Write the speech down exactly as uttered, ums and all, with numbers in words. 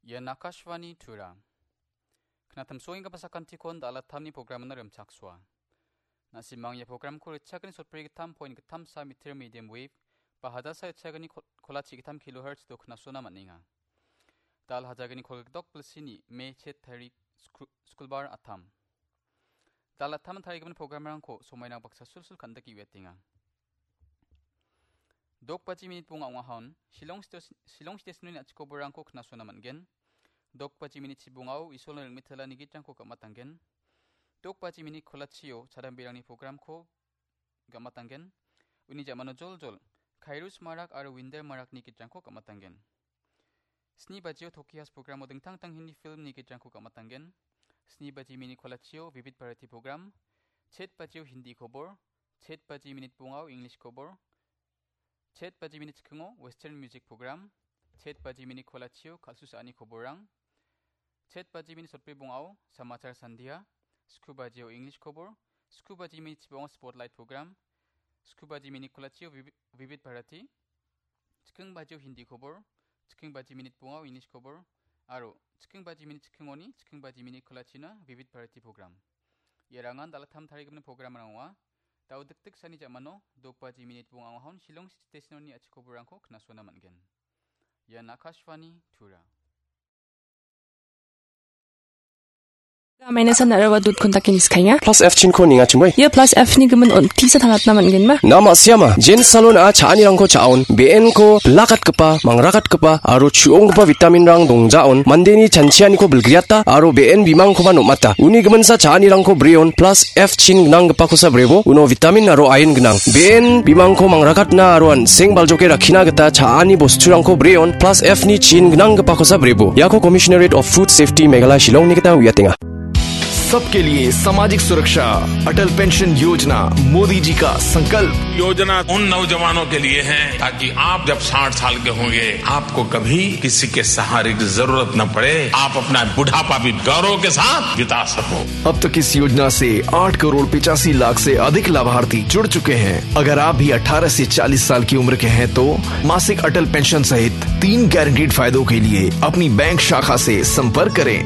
Ian Akashvani Tura. Knatamsoenggipa sakantikon dalatamni programna rimchaksoa. Nasimang ia programko ritchakani sotbri gittam point gittam sa meter medium wave, ba hadasa ritchakani kol-, kolachi gittam kilohertz do knasona man·enga. Dal hajagini kolgdok bilsini me chet tarik skru-, skulbar atam. Dal atam tarigimin programrangko somaina baksa sulsul kan·dike uiatenga. Dok baji minit bonga ong·ahon, Shillong stes-, Shillong stesnoni a·chikoborangko knasona man·gen. Dok baji minit chibongao Isolni ringmetelani gitrangko gamatanggen. Dok baji minit kolachio chadambirangni programko gamatanggen. Uni jamano joljol, Khairus Marak aro Winder Marakni gitrangko gamatanggen. Sni bajio Toki House programo dingtang dingtang Hindi filmni gitrangko gamatanggen. Sni baji minit kolachio Vivid Bharati program, chet bajio Hindi kobor, chet baji minit bongao English kobor, chet baji minit chikingo Western music program, chet baji minit kolachio kal·su sa·ani koborrang, chet baji minit sotbri bongao Samachar Sandhya, sku bajio English kobor, sku baji minit chibongo Spotlight program, sku baji minit kolachio Vivi-, Vivid Bharati, chiking bajio Hindi kobor, chiking baji minit bongao English kobor, aro chiking baji minit chikingoni chiking baji minit kolachina Vivid Bharati program. Iarangan dalatam tarigimin programrang ong·a. Dao dikdik sani jamano dok baji minit bongao ong·ahon Shillong stesnoni a·chikoborangko knasona man·gen. Ian Akashvani Tura. Mainas-an aro dot kontaki niskaenga. Plus F chinko ningachimoi. Ia Plus F ni gimin on tisa tangatna man·genma. Nama siama, Jen Salon a cha·anirangko cha·on, be·enko bilakatgipa, mangrakatgipa, aro chu·onggipa vitaminrang dongjaon, mandeni chanchianiko bilgriata, aro be·en bimangkoba nom·ata. Uni giminsa cha·anirangko breon, Plus F chin gnanggipakosa brebo, uno vitamin aro iron gnang. Be·en bimangko mangrakatna aro an·seng baljoke rakkina gita cha·ani bosturangko breon, Plus F ni chin gnanggipakosa brebo. Iako Commissionerate of Food Safety Meghalaya Shillong-ni gita uiatenga. सबके लिए सामाजिक सुरक्षा, अटल पेंशन योजना, मोदी जी का संकल्प। योजना उन नौजवानों के लिए है, ताकि आप जब साठ साल के होंगे, आपको कभी किसी के सहारे की जरूरत न पड़े, आप अपना बुढ़ापा भी गौरव के साथ बिता सको। अब तक इस योजना से आठ करोड़ पिचासी लाख से अधिक लाभार्थी जुड़ चुके हैं। अगर आप भी अठारह से चालीस साल की उम्र के हैं, तो मासिक अटल पेंशन सहित तीन गारंटीड फायदों के लिए अपनी बैंक शाखा से संपर्क करें।